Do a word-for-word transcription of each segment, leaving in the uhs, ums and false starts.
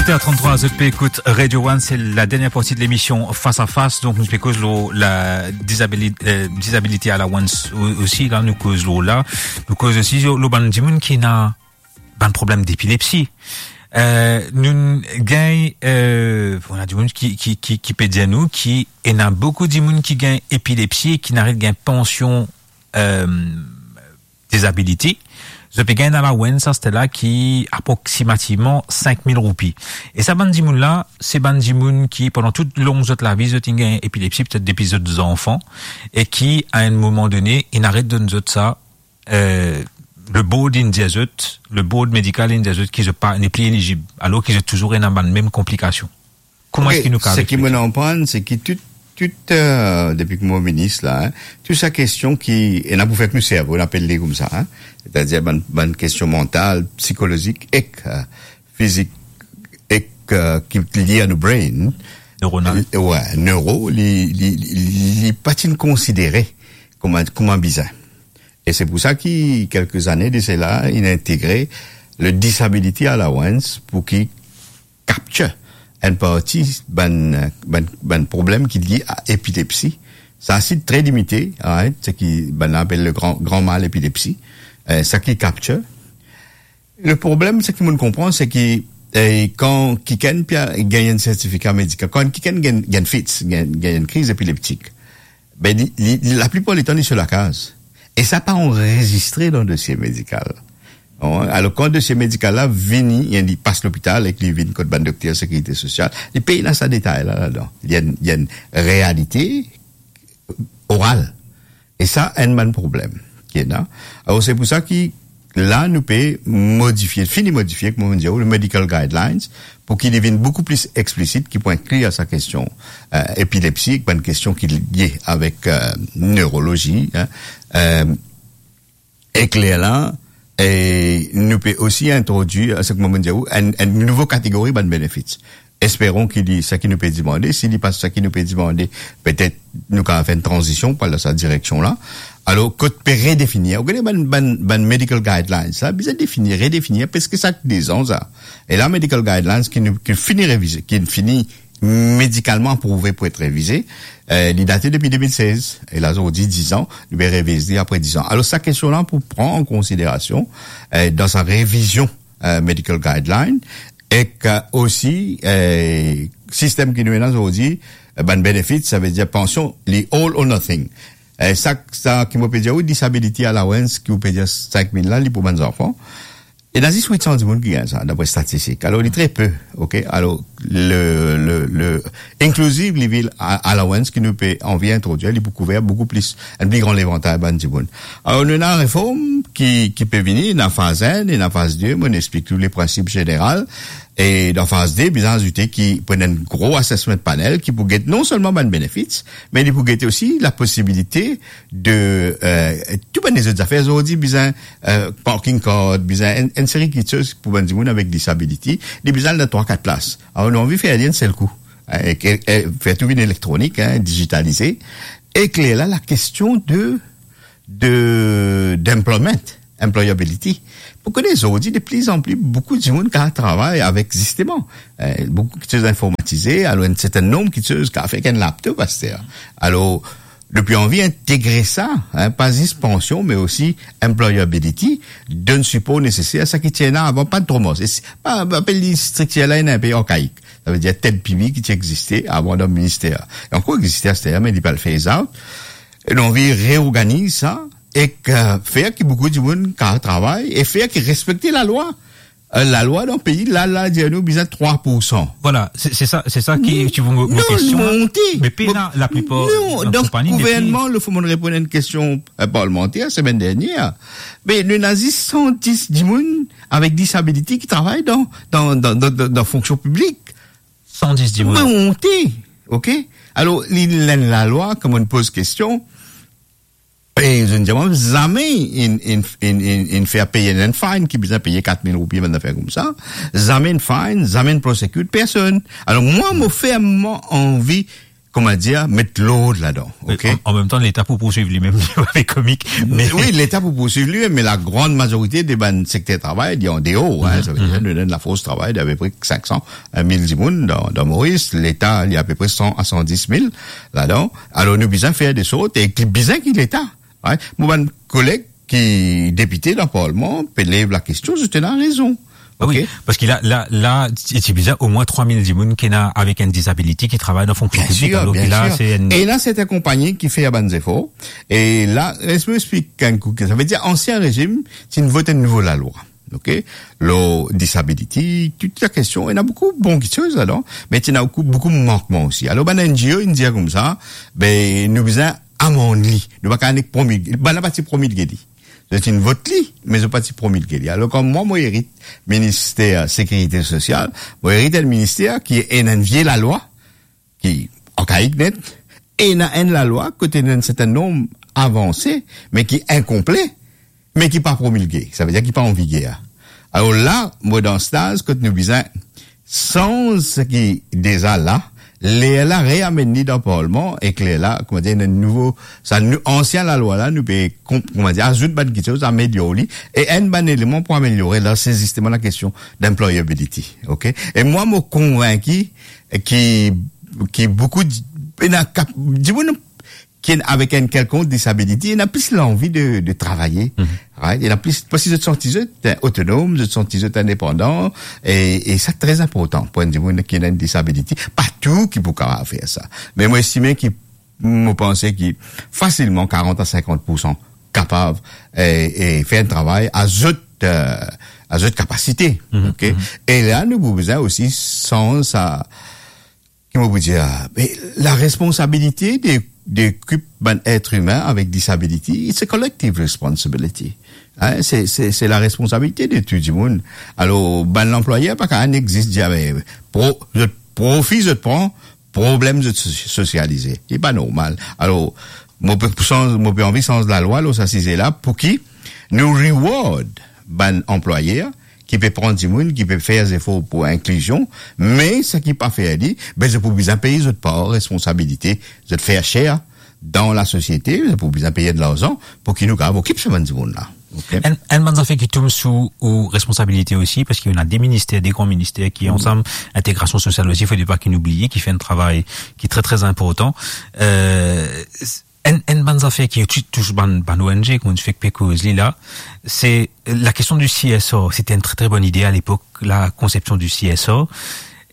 Sept heures trente-trois, zot pe ekout Radio One, se la dernière partie de l'émission Face à Face. Donk, nou pe koz lor la disabili-, euh, disability allowance o-, osi, la, nou koz lor la. Nou koz osi lor, lor bann dimoun ki ena bann problem depilepsi. Euh, nou gagn, euh, bon, ena dimoun ki, ki, ki, ki pe dir nou ki ena boukou dimoun ki gagn epilepsi e ki ena ret gagn pansion, euh, disability, zot pe gagn enn allowance, sa, se la ki aproksimativman sink mil roupi. E sa bann dimoun la, se bann dimoun ki, pandan tou long zot lavi, zot inn gagn epilepsi, petet depi zot zanfan, e ki, a enn moman done, inn aret donn zot sa, euh, le board inn dir zot, le board medikal inn dir zot ki zot pa, nepli elizib, alor ki zot touzour ena bann mem konplikasion. Kouma eski nou kapav... Seki mo konprann, se ki tou, tou, euh, depi ki mo minis la, hein, tou sa kestion ki, ena pou fer ek nou servo, nou apel li koumsa, hein, setadir bann, bann kestion mantal, psikolozik ek, euh, fizik ek, euh, ki lie a nou brain. Neuronal. Li, wi, neuro, li, li, li, li pa ti konsidere kouma, kouma bizin. E se pou sa ki, kelke zane de sela, inn integre le disability allowance pou ki capture enn parti bann, bann, bann problem ki lie a epilepsi. Sa si tre limite, right? Seki bann la apel le gran, gran mal epilepsi. Euh, sa ki capture. Le problem, seki mo konpran, se ki, euh, kan kikenn pe gagn enn sertifika medikal, kan kikenn gagn, gagn fits, gagn, gagn enn kriz epileptik, be, li, li, li, laplipar letan, li so lakaz. E sa pa anrezistre dan dosie medikal. Non? Alor, kan dosie medikal la vini, li pas lopital ek li vinn kot bann dokter sekirite sosial, li pena sa detay la ladan. Li enn, li enn realite oral. E sa, enn bann problem ki ena. Alor, se pou sa ki, la, nou pe modifie, fini modifie, kouma nou dir, le medical guidelines, pou ki li vinn boukou pli eksplisit, ki pou inkli sa kestion, euh, epilepsi, bann kestion ki lie avek, euh, neurolozi, hein. Euh, ek lerla, e nou pe osi introdwir, seki mo dir ou, enn, enn nouvo kategori bann benefits. Esperon ki li, seki nou pe demande, si li pa seki nou pe demande, petet nou kapav fer enn tranzision pou al dan sa direksion la. Alor, kot pe redefinir, ou gete bann, bann, bann medical guidelines, sa bizin definir, redefinir, preske sak de zan sa. E la, medical guidelines ki nou, ki fini revize, ki fini medikalman aprouve pou et revize, euh, li date depi de mil sez, e la, zordi, diz an, nou pe reviz li apre diz an. Alor, sa kestion la pou pran an konsiderasion, euh, dan sa revizion, euh, medical guideline, ek, euh, osi, euh, sistem ki nou ena zordi, euh, bann benefits, savedir pansion, li all or nothing. Euh, sa, sa ki mo pe dir, wi, disability allowance, ki ou pe dir sink mil la, li pou bann zanfan. Ena zis wit san dimoun ki gagn sa, dapre statistik. Alor, li tre pe, ok? Alor, le, le, le inclusive living a-, allowance ki nou pe anvi introdwir, li pou kouver boukou plis, enn pli gran levantay bann dimoun. Alor, nou ena reform ki, ki pe vini, ena faz enn, ena faz de, mo explik ou le prinsip zeneral. E dan faz de, bizin azoute ki pou ena enn gro assessment panel ki pou get non selman bann benefits, me li pou get osi la posibilite de, euh, tou bann lezot zafer, zordi bizin, euh, parking card, bizin enn, enn seri kitsoz pou bann dimoun avek disability, li bizin al dan trwa, kat plas. Alor, nou anvi fer li enn sel kou, hein, e, e fer tou vinn elektronik, hein, digitalize. Ek lerla, la kestion de, de, d'employment, employability. Pou kone zordi, de pli an pli, boukou dimoun kapav travay avek, zisteman, euh, boukou kitsoz informatize, alor enn serten nonb kitsoz kapav fer ek enn laptop aster. Alor, nou pe anvi integre sa, hein, pa zis pansion, me osi employability, donn sipor neseser, sa ki ti ena avan, pa tro mars. E si, pa, pa apel li striktir la, ena enpe arkaik. Savedir tel pimi ki ti existe avan dan minister. Li ankor existe aster, me li pe al phase out. E nou anvi reorganiz sa, ek, euh, fer ki boukou dimoun kapav travay, e fer ki respekte lalwa. Euh, lalwa dan pei la, la dir nou bizin trwa pour san. Vwala, se, se sa, se sa ki, hmm, ti pou mo, mo kestion la. Non, monte. Me pena, laplipar, non, dan, donk, konpani, gouvernman, le fwa mo reponn enn kestion, euh, parlmanter, semenn dernier, me nou ena zis san dis dimoun avek disability ki travay dan, dan, dan, dan, dan, dan fonksion piblik. San dis dimoun. Monte, ok? Alor, li, la, lalwa, kan mo poz kestion, e zot dir mwa, zame inn, inn, inn, inn, inn fer peye enn fine ki bizin peye kat mil roupi, bann zafer koumsa. Zame inn fine, zame inn prosecute personn. Alor, mwa, mo fermman anvi kouma dir, met lord ladan, ok? An, an mem tan, Leta pou poursuiv li mem, li pa pe komik, me wi, Leta pou poursuiv li mem, me lagran mazorite de bann sekter travay, li andeor, hein, sa ve dir, nou donn lafors travay de apepre sink san, mil dimoun dan, dan Moris, Leta, li apepre san a san dis mil ladan. Alor, nou bizin fer de sort, e ki bizin ki Leta, hein? Mo bann koleg ki depite dan parlman, pe lev lakestion, zot ena rezon. Ah wi, ok? Parski la, la, la, ti, ti bizin omwin trwa mil dimoun ki ena avek enn disability ki travay dan fonksyon piblik, alor ki la, se enn... Bien sir, bien sir. E ena sertin konpagni ki fer bann zefor. E la, les mo explik enn kou, sa ve dir ansien rezim, ti inn vot enn nouvo lalwa, ok? Lor disability, tou lakestion, ena boukou bon kiksoz ladan, me ti ena boukou, boukou mankman osi. Alor, bann N G O, inn dir koumsa, be, nou bizin amann li. Nou pa kapav nek promilge, bann la pa ti promilge li. Zot inn vot li, me zot pa ti promilge li. Alor, kan mwa, mo erit minister sekirite sosial, mo erit enn minister ki ena enn vie lalwa, ki arkaik net, ena enn lalwa kot ena enn sertin nonb avanse, me ki inkonple, me ki pa promilge, sa ve dir ki pa an viger. Alor la, mo dan staz kot nou bizin sanz seki deza la, lerla reamenn li dan parlman, ek lerla, kouma dir, enn nouvo, sa nou, ansien lalwa la, nou pe konp-, kouma dir, azout bann kiksoz, amelior li, e enn bann eleman pou ameliore la, se zisteman lakestion d'employability, ok? E mwa, mo konvinki ki, ki boukou di-, ena kap-, dimoun ki ena avek enn kelkonk disability, ena plis lanvi de, de travay, right? Ena plis, parski zot santi zot, eh, otonom, zot santi zot indepandan, e, e sa tre inportan pou enn dimoun ki ena enn disability. Pa tou ki pou kapav fer sa. Me mo estime ki, mo panse ki fasilman karant a sinkant poursan kapav, eh, eh, fer enn travay a zot, eh, a zot kapasite, ok? E la, nou pou bizin osi sanz sa, ki mo pou dir, me laresponsabilite de, de kip bann et imin avek disability, it's a collective responsibility. Hein, se, se, se laresponsabilite de tou dimoun. Alor, bann lanplwayer pa kapav nek zis dir, me, pro-, zot profi zot pran, problem zot so-, sosialize. Li pa normal. Alor, mo pe sanz, mo pe anvi sanz lalwa lor sa size la, pou ki nou reward bann anplwayer ki pe pran dimoun, ki pe fer zefor pou inklizion, me seki pa fer li, be, zot pou bizin pey zot par responsabilite, zot fair share dan lasosiete, zot pou bizin pey enn larzan pou ki nou kapav okip sa bann dimoun la. Ok? Enn, enn bann zafer ki tom sou ou responsabilite osi, parski ena de minister, de gran minister ki ansam, integrasion sosial osi, fode pa ki nou bliye, ki fer enn travay ki tre, tre inportan. Eh, s-, enn, enn bann zafer ki tou-, tous bann, bann O N G, kouma nou fek pe koz li la, se lakestion di C S R. Sete enn tre, tre bonn ide a lepok, lakonsepsion di C S R.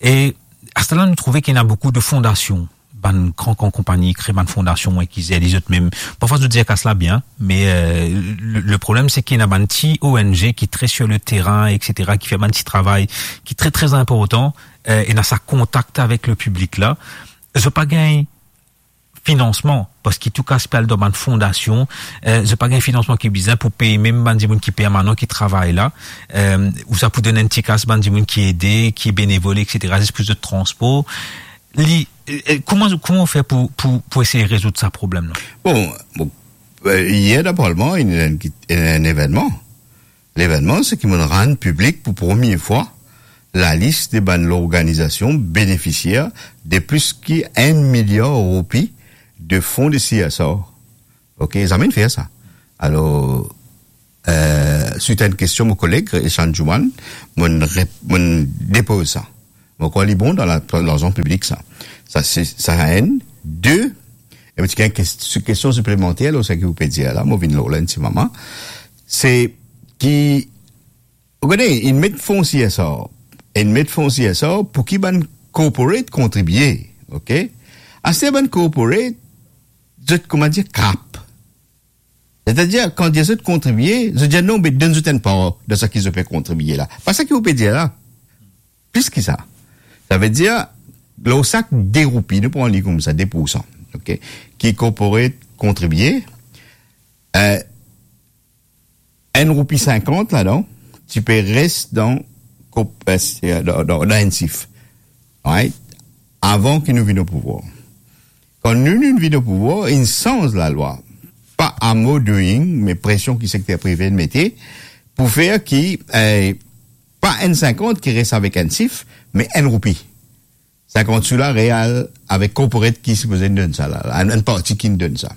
E aster la, nou trouve ki ena boukou de fondasion, bann gran, gran konpagni kre bann fondasion, wi, ki zer li zot mem. Parfwa, zot dir kas la bien, me, eh, le, le problem, se ki ena bann ti O N G ki tre sur le terrain, et cetera, ki fer bann ti travay ki tre, tre inportan, eh, ena sa kontak avek le piblik la. Zot pa gagn finansman, parski tou kas pe al dan bann fondasion, eh, zot pa gagn finansman ki bizin pou pey mem bann dimoun ki permanan ki travay la, eh, ou sa pou donn enn ti kas bann dimoun ki ede, ki benevol, et cetera, zis pou zot transpor. Li, eh, eh, kouma, kouma ou fer pou, pou, pou esey rezoud sa problem la? Bon, bon, eh, yer dan parlman, ena enn, enn evennman. Levennman, se ki mo'nn rann piblik pou premie fwa lalis de bann lorganizasion benefisier de plis ki enn miliar roupi de fon de C S R. Ok, zame inn fer sa. Alor, eh, suit a enn kestion mo koleg Eshan Juman, mo'nn rep-, mo'nn depoz sa. Mo krwar li bon dan la, dan larzan piblik sa. Sa, se, sa enn. De, e mo ti gagn kes-, kestion siplemanter lor seki ou pe dir la, mo vinn lor la enn ti moman. Se ki, ou kone, inn met fon C S R, inn met fon C S R pou ki bann corporate kontribie, ok? Aster bann corporate, zot, kouma dir, krap. Setadir, kan dir zot kontribie, zot dir, "Non, be donn zot enn par dan seki zot pe kontribie la." Pa seki ou pe dir la. Plis ki sa. Sa ve dir, lor sak de roupi, nou pran li koumsa, de poursan, ok, ki corporate kontribie, eh, enn roupi sinkant ladan, ti pe res dan kop-, eh, dan, dan, dan enn sif. Right? Avan ki nou vinn o pouvwar. Kan nou, nou vinn o pouvwar, inn sanz lalwa. Pa a mo doing, me presion ki sekter prive inn mete, pou fer ki, eh, pa enn sinkant ki res avek enn sif, me enn roupi. sinkant sou la, real, avek corporate ki sipoze donn sa la, enn, enn parti ki donn sa.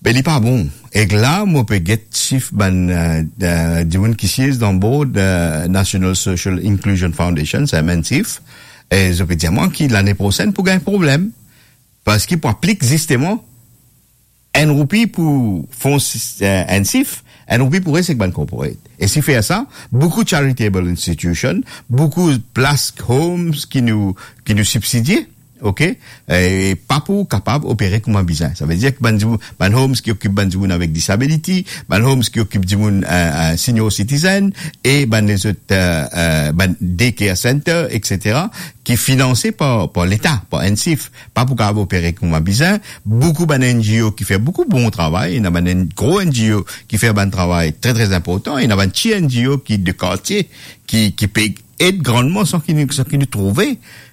Be li pa bon. Ek la, mo pe get sif bann, eh, eh, dimoun ki siez dan board, eh, National Social Inclusion Foundation, sa N S I F, e zot pe dir mwa ki lane prosenn pou gagn problem, parski pou aplik zisteman enn roupi pou fon sis-, eh, N S I F, enn roupi pou res ek bann corporate. E si fer sa, boukou charitable institution, boukou plas homes ki nou, ki nou sibsidie, ok? E pa pou kapav opere kouma bizin. Sa ve dir ki bann dimoun, bann homes ki okip bann dimoun avek disability, bann homes ki okip dimoun, eh, eh, senior citizen, e bann lezot, eh, eh, bann daycare center, et cetera, ki finanse par, par Leta, par N S I F, pa pou kapav opere kouma bizin. Boukou bann N G O ki fer boukou bon travay, ena bann N-, gro N G O ki fer bann travay tre, tre inportan, ena bann ti N G O ki de kartie, ki, ki pe ed grandman san ki nou, san ki nou trouve,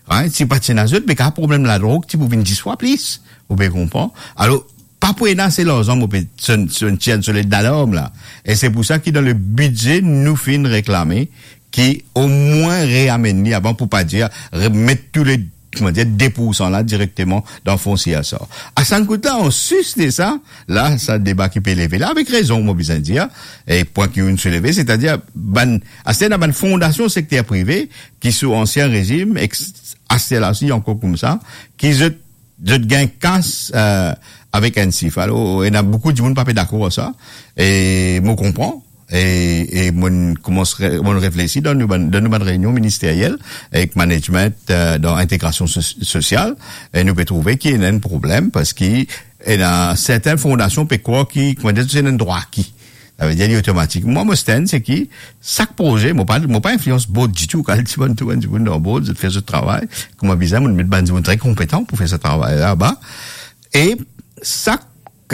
right? Si pa ti ena zot, be ka problem ladrog ti pou vinn dis fwa plis, ou pe konpran? Alor, pa pou ena ase larzan, mo pe sonn, sonn tir sonn lalarm la. E se pou sa ki dan le bidze, nou finn reklame ki omwin reamenn li avan, pou pa dir remet tou le, kouma dir, de poursan la direkteman dan fon C S R. A sa kout la, an sis de sa, la, sa deba ki pe leve la, avek rezon, mo bizin dir, e pwin ki inn souleve, setadir, bann, aster ena bann fondasion sekter prive ki sou ansien rezim, ek aster la osi ankor koumsa, ki zot, zot gagn kas, eh, avek N S I F. Alor, ena boukou dimoun pa pe dakor ar sa, e mo konpran, e, e mo'nn koumans re-, mo'nn reflesi dan nou bann, dan nou bann reynion ministeriel ek management, eh, dan integrasion so-, sosial, e nou pe trouve ki ena enn problem, parski ena sertin fondasion pe krwar ki, kouma dir, se ena enn drwa aki. Sa ve dir li otomatik. Mwa, mo stand, se ki sak proze, mo pa, mo pa inflians board ditou, kan ti bann, tou bann dimoun dan board, zot fer zot travay, kouma bizin, mo'nn met bann dimoun tre konpetan pou fer sa travay laba. E sak,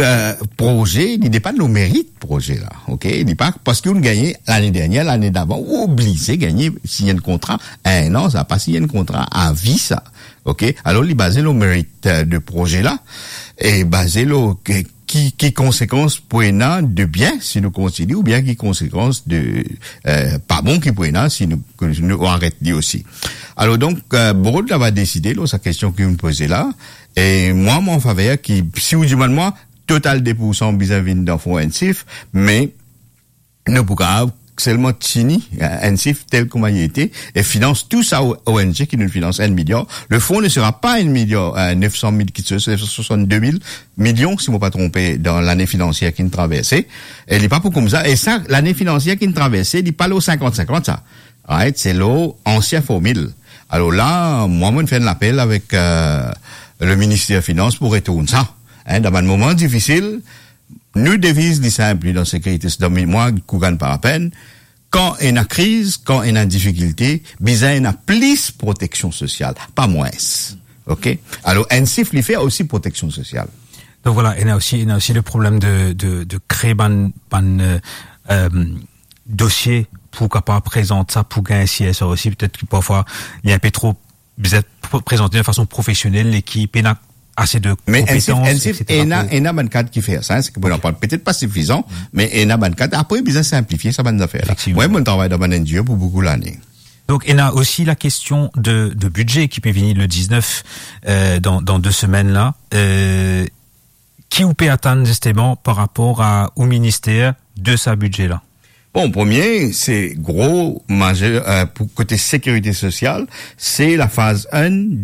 eh, proze, li depann lor merit proze la, ok? Li pa, parski ou'nn gagne lane dernier, lane davan, ou oblize gagne, sign enn kontra, enn an, sa pa sign enn kontra a vi, sa, ok? Alor, li baze lor merit, eh, de proze la, e baze lor ke ki, ki konsekans pou ena de bien si nou kontinie, oubien ki konsekans de, eh, pa bon ki pou ena si nou, nou aret li osi. Alor donk, eh, board la va deside lor sa kestion ki ou'nn poze la. E mwa, mo an faver ki, si ou dimann mwa, total de poursan bizin vinn dan fon N S I F, me nou pou kapav selman tini, eh, N S I F tel kouma li ete, e finans tou sa O-, O N G ki nou finans enn miliar. Le fon ne sera pas enn miliar, eh, nef san mil, ki se, se swasann-de mil milion, si mo pa tronpe, dan lane finansier ki'nn traverse. E li pa pou koumsa. E sa, lane finansier ki'nn traverse, li pa lor sinkant sinkant sa. Right? Se lor ansien formil. Alor la, mwa, mo'nn fer enn lapel avek, eh, le minister finans pou retourn sa. Hein, dan bann moman difisil, nou deviz li sinp, li dan sekirite, se dan mwa ki gagn pa lapenn. Kan ena kriz, kan ena difikilte, bizin ena plis proteksion sosial, pa mwins. Ok? Alor, N S I F, li fer osi proteksion sosial. Donk vwala, ena osi, ena osi le problem de, de, de kree bann, bann, eh, eh, dosie pou kapav prezant sa, pou gagn C S R osi. Petet ki parfwa, li enpe tro bizin pre-, prezante de fason profesionel e ki pena ase de konpetans, et cetera. Me N S I F, N S I F ena, ena bann kad ki fer sa, hein, se ki pou, ok, petet pa sifizan, me ena bann kad. Apre, bizin sinplifie sa bann zafer la. Efektivman. Mwa, mo'nn travay dan bann N G O pou boukou lane. Donk, ena osi la kestion de, de bidze ki pe vini le diznef, eh, dan, dan de semenn la. Eh, ki ou pe atann zisteman par rapor a ou minister de sa bidze la? Bon, premie, se gro mazer, eh, pou kote sekirite sosial, se la faz enn